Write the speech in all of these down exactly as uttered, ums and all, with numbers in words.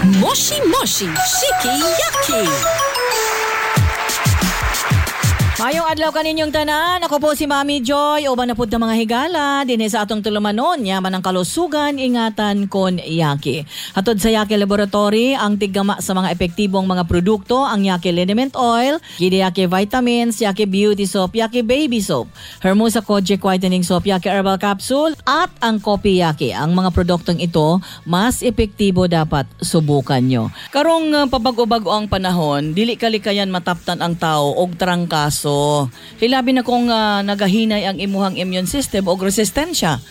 Moshi Moshi Shiki Yaki. Mayong adlaw kaninyong tanan. Ako po si Mami Joy. Uban na pud ta, mga higala dinhi sa atong tulumanon. Yaman ang kalusugan, ingatan kon Yaki. Hatod sa Yaki Laboratory, ang tiggama sa mga epektibong mga produkto, ang Yaki Liniment Oil, Gidi Yaki Vitamins, Yaki Beauty Soap, Yaki Baby Soap, Hermosa Kojic Whitening Soap, Yaki Herbal Capsule, at ang Kopi Yaki. Ang mga produktong ito, mas epektibo, dapat subukan nyo. Karong uh, pabago-bago ang panahon, dili kalikayan mataptan ang tao og trangkaso. Hilabi na kung uh, nagahinay ang imuhang immune system og resistensya.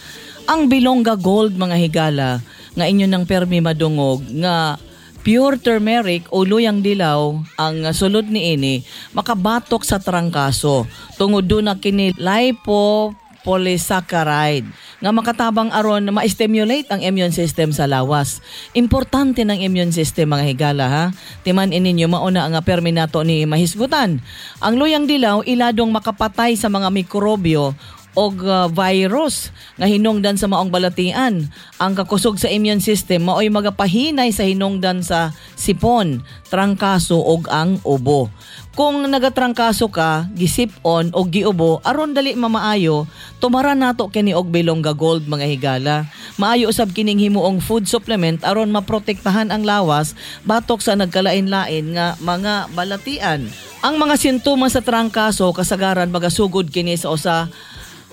Ang Bilongga Gold, mga higala, nga inyo ng permi madungog nga pure turmeric o luyang dilaw ang sulod niini, makabatok sa trangkaso tungod duna kini lipopolysaccharide nga makatabang aron ma-stimulate ang immune system sa lawas. Importante ng immune system, mga higala, ha. Timan ninyo, mauna nga permi nato ni mahisgutan. Ang luyang dilaw iladong makapatay sa mga mikrobyo og uh, virus nga hinungdan sa maong balatian. Ang kakusog sa immune system maoy magapahinay sa hinungdan sa sipon, trangkaso og ang ubo. Kung nagatrangkaso ka, gisipon o giubo, aron dali mamaayo, tumara nato kini og Bilongga Gold, mga higala. Maayo usab kining himuong food supplement aron maprotektahan ang lawas batok sa nagkalain-lain nga mga balatian. Ang mga sintomas sa trangkaso, kasagaran magasugod kini sa usa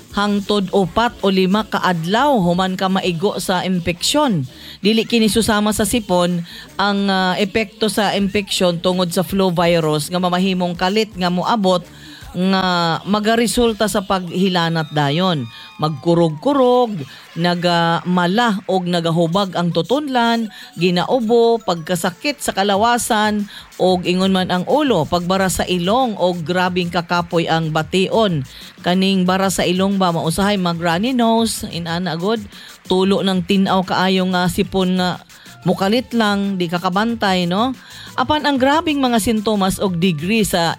hangtod upat o lima ka adlaw human ka maigo sa impeksyon. Dili kini susama sa sipon. Ang ah, epekto sa impeksyon tungod sa flu virus nga mamahimong kalit nga moabot nga magaresulta sa paghilanat dayon. Magkurog-kurog, nagamala og nagahubag ang tutunlan, ginaubo, pagkasakit sa kalawasan og ingon man ang ulo, pagbara sa ilong og grabing kakapoy ang bation. Kaning bara sa ilong ba, mausahay mag runny nose, inana gud, tulo ng tin-aw kaayo nga sipon nga mukalit lang, di ka kabantay, no? Apan ang grabing mga sintomas og degree sa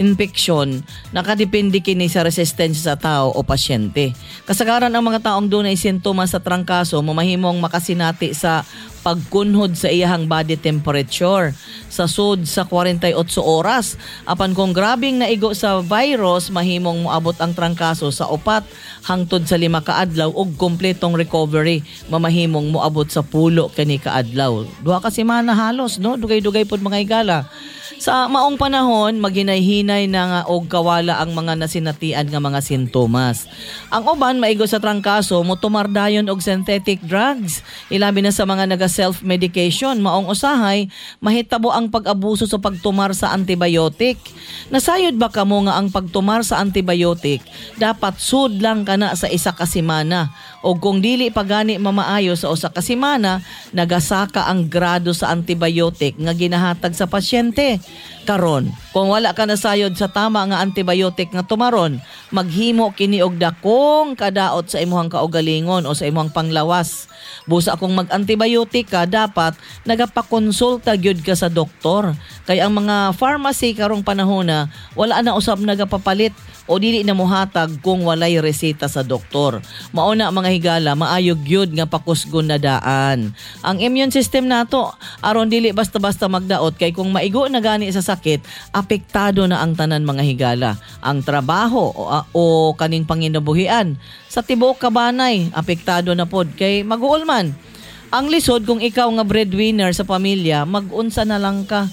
infection, nakadepende kini sa resistensya sa tao o pasyente. Kasagaran, ang mga taong dunay sintomas sa trangkaso mamahimong makasinati sa pagkunhod sa iyahang body temperature sa sud sa kwarentay otso oras. Apan kung grabing naigo sa virus, mahimong moabot ang trangkaso sa upat hangtod sa lima ka adlaw ug kompletong recovery mamahimong moabot sa pulo kani kaadlaw. Duha ka semana halos, no? Dugay-dugay pod, mga higala. Sa maong panahon, maghinay-hinay na nga og kawala ang mga nasinatian nga mga sintomas. Ang uban maigo sa trangkaso motumar dayon og synthetic drugs. Ilabi na sa mga naga self-medication, maong usahay mahitabo ang pag-abuso sa pagtumar sa antibiotic. Nasayod ba kamo nga ang pagtumar sa antibiotic dapat sud lang kana sa isa ka semana? O kung dili pa gani mamaayo sa usa ka semana, nagasaka ang grado sa antibiotic nga ginahatag sa pasyente. Karon, kung wala ka nasayod sa tama nga antibiotic nga tumaron, maghimo kini og dakong kadaot sa imuhang kaugalingon o sa imuhang panglawas. Busa kung mag-antibiotic ka, dapat nagapakonsulta gyud ka sa doktor. Kay ang mga pharmacy karong panahon na wala na usab nagapapalit o dili na mohatag kung walay reseta sa doktor. Mao na, mga higala, maayo gyud nga pakusgon na daan ang immune system nato aron dili basta-basta magdaot, kay kung maigo na gani sa sakit, apektado na ang tanan, mga higala. Ang trabaho o, o kaning panginabuhian sa tibuok kabanay, apektado na pod kay maguol man. Ang lisod kung ikaw nga breadwinner sa pamilya, mag-unsa na lang ka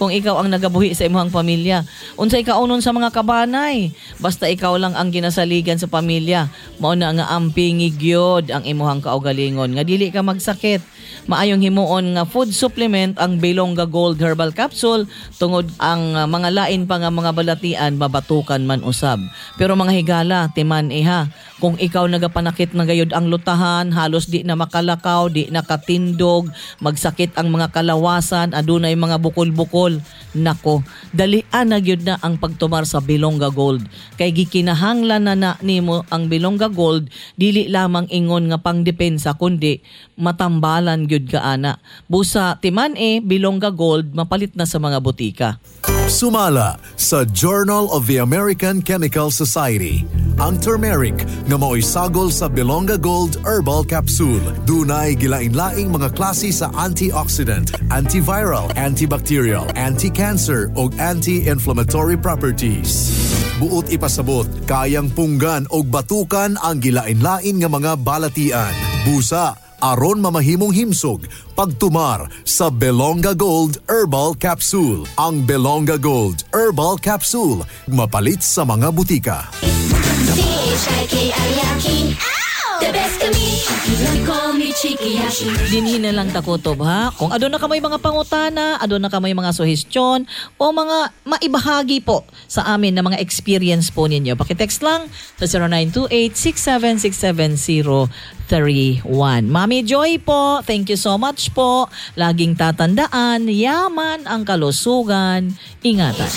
kung ikaw ang nagabuhi sa imong pamilya? Unsay kaunon sa mga kabanay? Basta ikaw lang ang ginasaligan sa pamilya. Mao na nga ampingi gyud ang imuhang kaugalingon nga dili ka magsakit. Maayong himuon nga food supplement ang Bilongga Gold Herbal Capsule tungod ang uh, mga lain pa nga mga balatian mabatukan man usab. Pero mga higala, timan iha, kung ikaw nagapanakit na gayud ang lutahan, halos di na makalakaw, di na katindog, magsakit ang mga kalawasan, adunay mga bukol-bukol, nako, dalian na gyud na ang pagtumar sa Bilongga Gold. Kay gikinahanglan na na nimo ang Bilongga Gold, dili lamang ingon nga pangdepensa kundi matambalan gyud ka ana. Busa timan e Bilongga Gold, mapalit na sa mga botika. Sumala sa Journal of the American Chemical Society. Ang turmeric nga mao'y sagol sa Belonga Gold Herbal Capsule. Dunay gilain-laing mga klase sa antioxidant, antiviral, antibacterial, anti-cancer ug anti-inflammatory properties. Buot ipasabot, kayang punggan og batukan ang gilain-lain nga mga balatian. Busa, aron mamahimong himsog pagtumar sa Belonga Gold Herbal Capsule. Ang Belonga Gold Herbal Capsule mapalit sa mga butika. C H I K I Y A K I. The best kami. Call me Chikiyashi. Dinhi na lang takutob ha. Kung aduna ka may mga pangutana, aduna ka may mga suhestyon o mga maibahagi po sa amin na mga experience po ninyo. Paki-text lang sa zero nine two eight, six seven six seven, zero three one. Mami Joy po, thank you so much po. Laging tatandaan, yaman ang kalusugan. Ingatan.